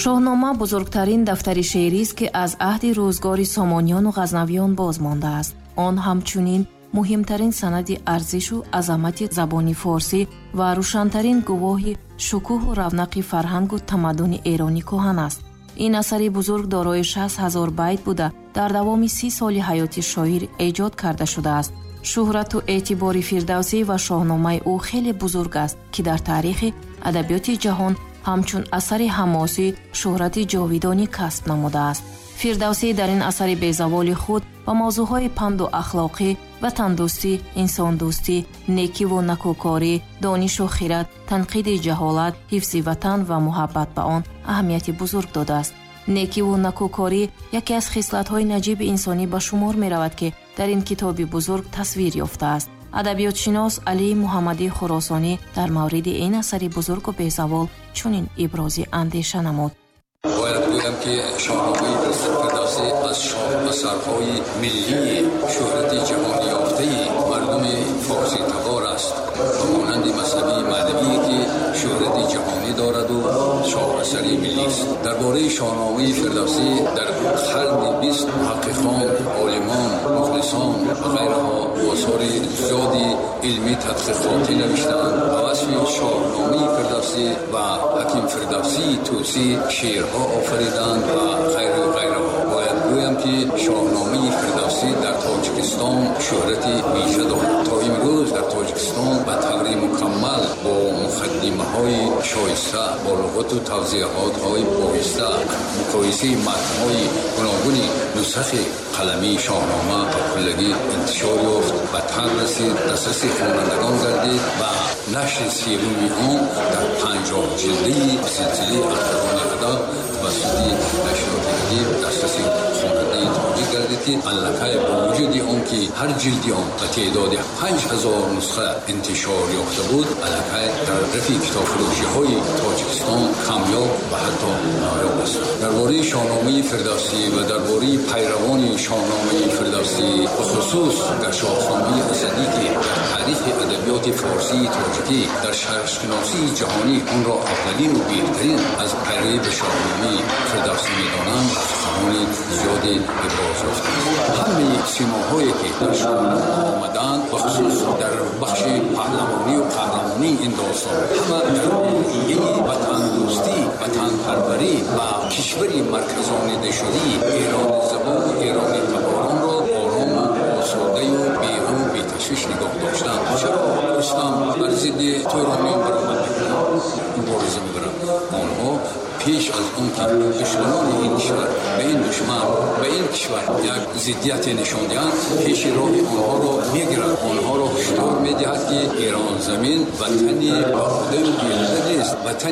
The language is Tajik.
Шоҳнома бузургтарин дафтари шеърист, ки аз аҳди рӯзгори Сомониёну Ғазнавиён боз мондааст. Он ҳамчунин муҳимтарин санади арзишу азамати забони форсӣ ва рӯшантарин гувоҳи шукӯҳу равнақи фарҳангу тамаддуни эрони кӯҳан аст. Ин асари бузург дорои 60 000 байт буда, дар давоми 30 соли ҳаёти шоир эҷод карда шудааст. Шӯҳрату эътибори Фирдавсӣ ва шоҳномаи ӯ хеле бузург аст, ки дар таърихи адабиёти ҷаҳон ҳамчун асари ҳамосӣ шӯҳрати ҷовидонӣ касб намудааст. Фирдавсӣ дар ин асари безаволи худ ба мавзӯъҳои панду ахлоқӣ, ватандӯстӣ, инсондӯстӣ, некиву накӯкорӣ, донишу хират, танқиди ҷаҳолат, ҳифзи ватан ва муҳаббат ба он аҳамияти бузург додааст. Некиву накӯкорӣ яке аз хислатҳои наҷиби инсонӣ ба шумор меравад, ки дар ин китоби бузург тасвир ёфтааст. Адабиётшинос Алии Муҳаммадии Хуросонӣ дар мавриди ин асари бузургу безавол чунин ибрози андеша намуд: Бояд гӯям, ки Шоҳномаи Фирдавсӣ аз шоҳасарҳои миллии шӯҳрати ҷаҳонёфтаи мардуми форситабор аст, ба монанди Маснавии Маънавие, ки шӯҳрати ҷаҳонӣ дораду шоҳасари миллист. Дар бораи Шоҳномаи Фирдавсӣ дар қарни 20 муҳаққиқон, олимон, мухлисон ва ғайраҳо осори зиёди илмӣ тадқиқотӣ навиштаанд. Ба васфи Шоҳномаи Фирдавсӣ ва ҳаким Фирдавсии Тӯсӣ шеърҳо офариданд ва ғайру ғайраҳо. Бояд гӯям, ки Шоҳномаи Фирдавсӣ дар Тоҷикистон шӯҳрати вижа дорад. То имрӯз дар Тоҷикистон ба таври мукаммал, бо муқаддимаҳои шоиста, бо луғату тавзеҳотҳои боиста, муқоисаи матнҳои гуногуни нусхи қаламии Шоҳнома ба куллагӣ интишор ёфт, ба табъ расид, дастраси хонандагон гардид ва нашри севуми он дар 50 ҷилдаи силсилаи Ахтарони адаб тавассути нашриёти Адиб дастраси хонандаи тоҷик гардид, ки аллакай бо вуҷуди он ки ҳар ҷилди он ба теъдоди 5000 нусха интишор ёфта буд, аллакай дар рафи китобфурӯшиҳои Тоҷикистон камёб ва ҳатто ноёб аст. Дар бораи Шоҳномаи Фирдавсӣ ва дар бораи пайравони Шоҳномаи Фирдавсӣ, бихусус дар Шоҳномаи Асадӣ, ки дар таърихи адабиёти форсии тоҷикӣ, дар шарқшиносии ҷаҳонӣ онро аввалину беҳтарин аз пайравӣ ба Шоҳномаи Фирдавсӣ медонанд, суханони зиёде иброз ёфтааст. Ҳамаи симоҳое, ки дар Шоҳнома омадаанд, бахусус дар бахши паҳлавонию қаҳрамонии ин достон, ҳама дар рӯҳияи ватандӯстӣ, ватанпарварӣ ва кишвари марказонидашудаи эрони забону эрони таборонро орому осудаю беғаму беташвиш нигоҳ доштан. Чаро Рустам бар зидди турониён баромад мекунад, мубориза мебарад? Онҳо пеш аз он ки душманони ин кишвар ба ин душман, ба ин кишвар як зиддияте нишон диҳанд, пеши роҳи онҳоро мегирад, онҳоро ҳушдор медиҳад, ки Эрон замин ватани беҳудаю беҳуда нест, ватани